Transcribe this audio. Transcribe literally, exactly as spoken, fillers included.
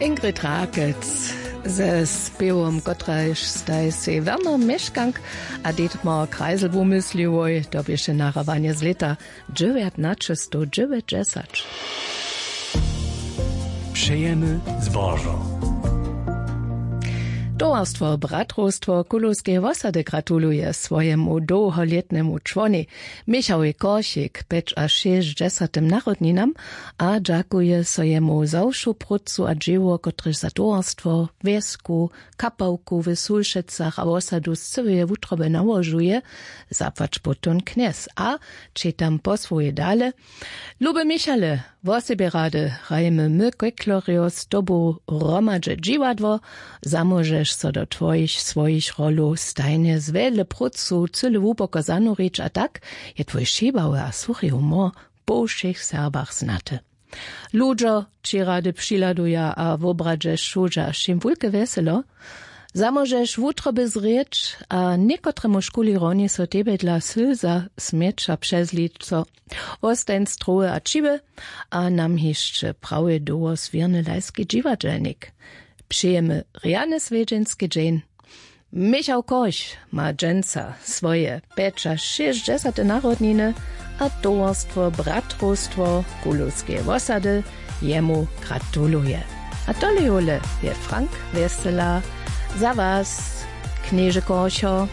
Ingrid Rakec ze spěwom, kotraž staj sej Werner Měškank a Dietmar Kreisel wumysliłoj, to běše nahrabanje z lěta dźewjatnaćestowdźewjećdźesat. Přejemy zbožo. Towarstwo Bratrowstwo Kulowskeje wosady gratuluje swojemu dołholětnemu čłonej Michałej Korchik pjećašěsćdźesatym narodninam a dźakuje so jemu za wšu prócu a dźěło, kotrež za towarstwo, wjesku, kapałku w Sulšecach a wosadu z cyłeje wutroby nałožuje, zapłać potom knjez. A četam po swojej dale: Luby Michale, wosebje rady hrajemy my Keklerjo z tobu hromadźe dźiwadło. Zamóžeš so do twojich swojich rolow stajnje z wjedle prócu cyle hłuboko zanurić a tak je twój šibały a suchi humor po wšěch Serbach znaty. Ludźo ći rady přihladuja a wobradźe šudźa wšěm wulke wjeselo. Zamóžeš wutroby zrěć a někotremuž kuli hronie so tebje dla sylza smjeća přezlić so. Wostań zdrowy a ćiwy a nam hišće prawje dołho zwěrny lajski dźiwadźelnik. Přejemy rjany swjedźenski dźeń. Michał Korch ma dźensa swoje pjećašěsćdźesate narodniny a towarstwo Bratrowstwo Kulowskeje wosady jemu gratuluje. A tole jole je Frank Wjesela za was, knježe Korcho.